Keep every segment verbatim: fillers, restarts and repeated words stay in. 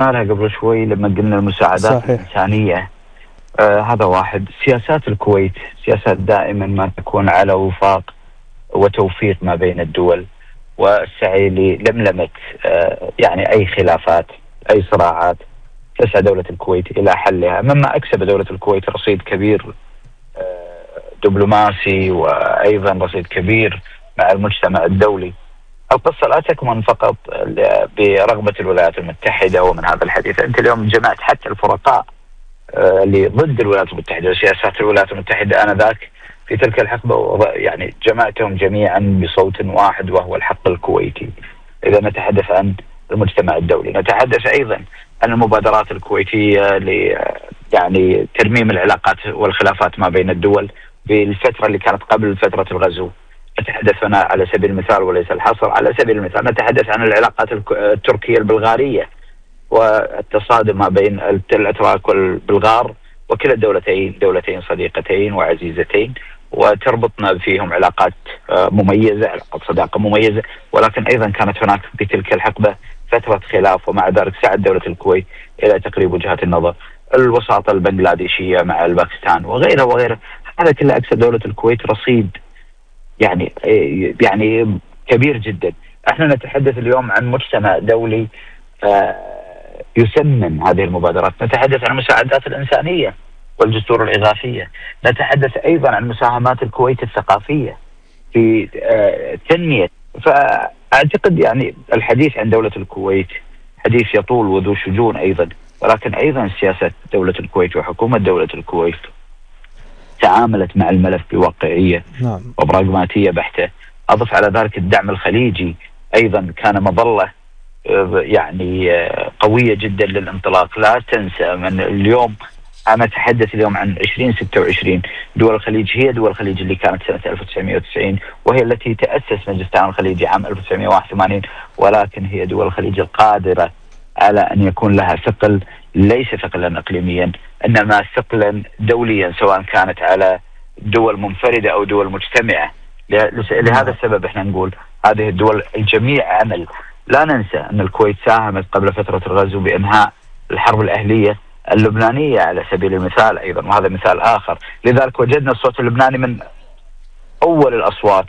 لها قبل شوي لما قلنا المساعدات صحيح. الإنسانية. آه هذا واحد. سياسات الكويت سياسات دائما ما تكون على وفاق وتوفيق ما بين الدول، والسعي للملمة آه يعني أي خلافات، أي صراعات، تسعى دولة الكويت إلى حلها، مما أكسب دولة الكويت رصيد كبير آه دبلوماسي، وأيضا رصيد كبير مع المجتمع الدولي. القصة لا تكمن فقط برغبة الولايات المتحدة ومن هذا الحديث. أنت اليوم جمعت حتى الفرقاء اللي ضد الولايات المتحدة وسياسات الولايات المتحدة آنذاك في تلك الحقبة، يعني جمعتهم جميعا بصوت واحد وهو الحق الكويتي. إذا نتحدث عن المجتمع الدولي، نتحدث أيضا عن المبادرات الكويتية ل يعني ترميم العلاقات والخلافات ما بين الدول بالفترة اللي كانت قبل فترة الغزو. نتحدث هنا على سبيل المثال وليس الحصر، على سبيل المثال نتحدث عن العلاقات التركية البلغارية والتصادم ما بين الأتراك والبلغار، وكلا الدولتين دولتين صديقتين وعزيزتين، وتربطنا فيهم علاقات مميزة، علاقات صداقة مميزة. ولكن أيضا كانت هناك في تلك الحقبة فترة خلاف، ومع ذلك سعت دولة الكويت إلى تقريب وجهات النظر. الوساطة البنغلاديشية مع الباكستان وغيرها وغيرها، هذا كله أكسب دولة الكويت رصيد يعني يعني كبير جدا. احنا نتحدث اليوم عن مجتمع دولي آه يسمن هذه المبادرات، نتحدث عن المساعدات الإنسانية والجسور الإغاثية، نتحدث أيضا عن مساهمات الكويت الثقافية في آه تنمية. فأعتقد يعني الحديث عن دولة الكويت حديث يطول وذو شجون أيضا، ولكن أيضا سياسة دولة الكويت وحكومة دولة الكويت تعاملت مع الملف بواقعية نعم. وبراغماتية بحتة. أضف على ذلك الدعم الخليجي أيضا كان مظلة يعني قوية جدا للانطلاق. لا تنسى من اليوم، أنا أتحدث اليوم عن عشرين ستة وعشرين، دول الخليج هي دول الخليج اللي كانت سنة ألف وتسعمائة وتسعين، وهي التي تأسس مجلس التعاون الخليجي عام ألف وتسعمائة وواحد وثمانين، ولكن هي دول الخليج القادرة على أن يكون لها ثقل ليس ثقلا إقليميا، إنما ثقلا دوليا، سواء كانت على دول منفردة أو دول مجتمعة. لهذا السبب احنا نقول هذه الدول الجميع عمل. لا ننسى أن الكويت ساهمت قبل فترة الغزو بإنهاء الحرب الأهلية اللبنانية على سبيل المثال أيضا، وهذا مثال آخر. لذلك وجدنا الصوت اللبناني من أول الأصوات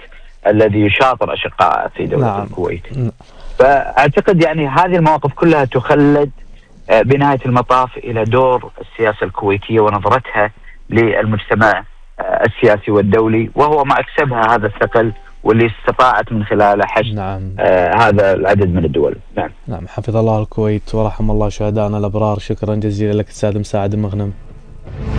الذي يشاطر أشقاء في دولة نعم. الكويت. فأعتقد يعني هذه المواقف كلها تخلد بنهاية المطاف إلى دور السياسة الكويتية ونظرتها للمجتمع السياسي والدولي، وهو ما أكسبها هذا الثقل واللي استطاعت من خلاله حشد نعم. آه هذا العدد من الدول. نعم. نعم. حفظ الله الكويت ورحم الله شهدائنا الأبرار. شكرا جزيلا لك أستاذ مساعد مغنم.